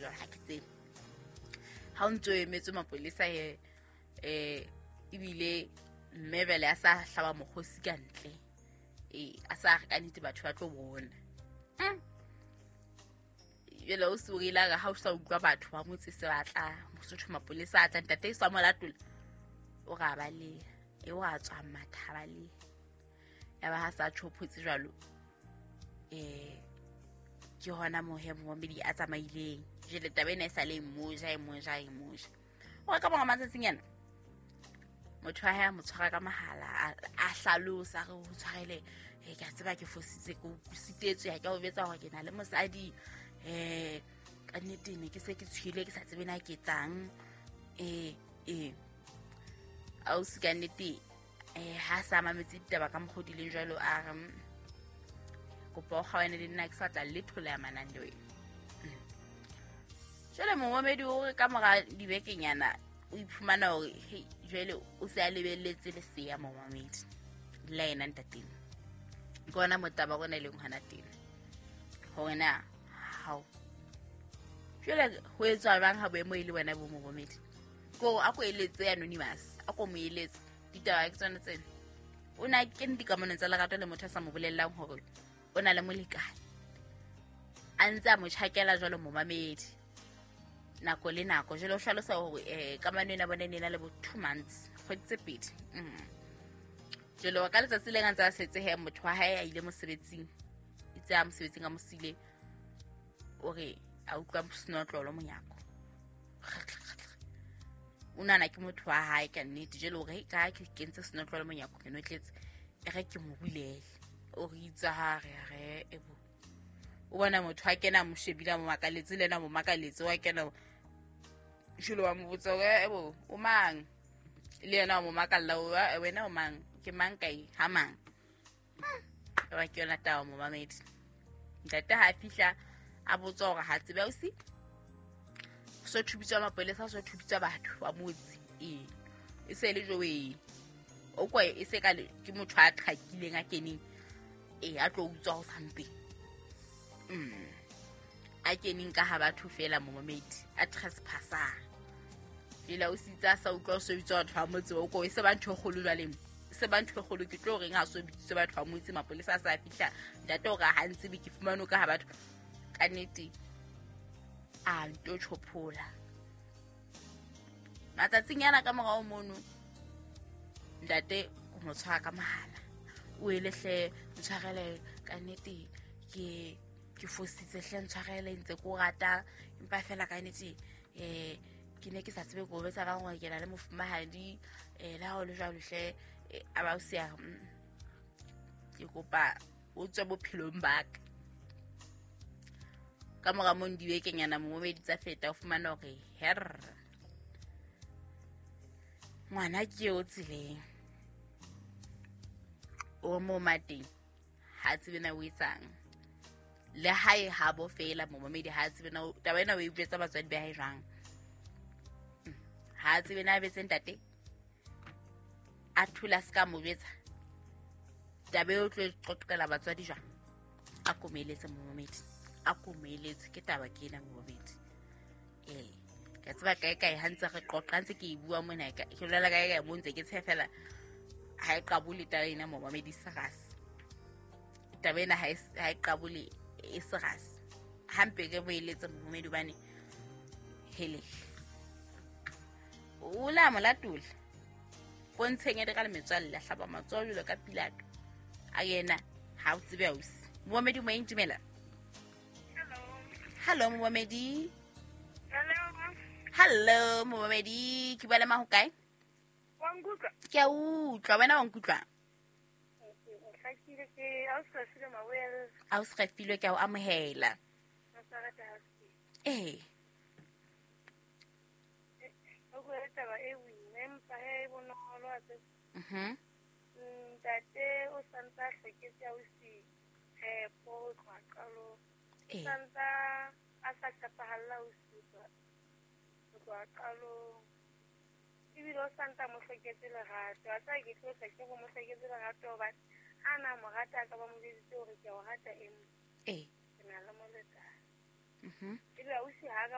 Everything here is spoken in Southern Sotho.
jwalo ha ke tsebe. Ha o ntso emetse mapolesa he ebile mme bele a sa hlaba mokgosi ka ntle. A sa re ka nnete batho ba tlo bona. Jwale o se o ile ha o sa utlwa batho ba motse se batla mosotho mapolesa a tla ntate sa mo latola. O ra ba le e wa tswa matha ba le. Ya ba ha sa tjhophotse jwalo. Ke hona mohe momedi a tsamaileng. Jwale taba ena e sa le moja e moja e moja. O ka bona matsatsing yana. Motho wa hae a mo tshwara ka mahala a hlalosa re ho tshwarele ke a tseba ke fositse ke o sitetswe ha ke o betsa hore ke na le mosadi ka nnete ne ke se ke tshwile ke sa tsebe na ke etsang ausi ka nnete ha sa mametse ditaba ka mokgwa o di leng jwalo a re kopa o kgaohane le nna ke sa tla letho le amanang le wena. Jwale momamedi o re ka mora dibekenyana o iphumana hore hey jwale o se a lebelletse lesea momamedi le yena ntateng. Ke ona motaba rona e leng hona teng hore na hao jwale ho etswa jwang ha boemo e le wena bo momamedi. Ko a ko eletse anonymous a ko mo eletse ditaba ke tsona tsena. O na kene dikamanong tsa lerato le motho a sa mo bolellang hore o na le molekane. A ntse a mo tjhakela jwalo momamedi nako le nako. Jwale o hlalosa hore kamano ena bona e ne na le bo 2 months kgwedi tse pedi. Jwale ka letsatsi le ntse a setse he motho wa hae a ile mosebetsing itse a mosebetsing a mosile o re a utlwa senotlolo monyako. O nana ke motho wa hae ka nnete jwale o re ka ke kentse senotlolo monyako ke notletse e re ke mo bulele. O re itse ha re re ebo o bona motho a kena mo shebile mo makaletse le ena mo makaletse wa kena jwale wa mo botsa ebo o mang le yena mo makalla o wena o mang ke mang kae ha mang. Wa ke yona taba momamedi. Ntate ha fihla a botsa hore ha tsebe ausi so thubitswa mapolesa so thubitswa batho ba motse e se le jowe o kwa e se ka ke motho a qhakileng a keneng a tlo utswa ho something. A keneng ka ha batho fela momamedi a trespasser. Jwale o sitsa sa utlwa so bitswa batho ba motse o ko e se ba ntho e kgolo jwale se ba ntho e kgolo ke tlo reng ha so bitswe batho ba motse mapolesa a sa fihla ntate o re ha ntse be ke fumane ka ha batho ka nnete a nto tjhophola. Matsatsing yana ka morao mono ntate o mo tshwara ka mahala o ele hle ntshwarele ka nnete ke fositse hle ntshwarele ntse ko rata empa fela ka nnete ke ne ke sa tsebe go betsa ba ngwe ke na le mofumahadi le ha o le jwalo hle a ba o sia ke kopa o tswe bophelong ba ka. Ka mora mo dibekenyana momamedi tsa feta o fumana hore her ngwana ke o tseleng o mo mateng ha tsebe na o etsang le hae ha bo fela momamedi ha tsebe na taba ena o e buetsa batswadi ba hae jwang. Ha tsebe na betse ntate a thula ska mo betsa taba eo tlo qoqela batswadi jwang. A komeletse momamedi a komeletse ke taba ke ena momamedi. Ke tseba kae kae ha ntse re qoqa ntse ke e bua mona ke bolela kae kae mo ntse ke tshefela ha e qabole taba ena momamedi serious. Taba ena ha e qabole e serious. Hampe ke boeletse momamedi hobane hele o la mo latola pontsheng e re ka le metswalle a hlaba matsoho jwalo ka Pilato a yena ha o tsebe ausi. Momamedi mo intumela. Hello momamedi. Hello. Hello momamedi ke bua le mang ho kae? Wa nkutlwa? Ke a utlwa wena wa nkutlwa? Ausi Refilwe ke a o amohela. Ntate o santsa hloketse ausi tshepo ho tloha qalong. Santsa a sa tshepahalla ausi ho tloha qalong. Ebile o santsa mo hloketse lerato. A sa ke tlo tla ke go mo hloketse lerato hobane ha na mo rata ka ba mo jweditse hore ke a o rata empa ke na le molekane. Ebe ausi ha ka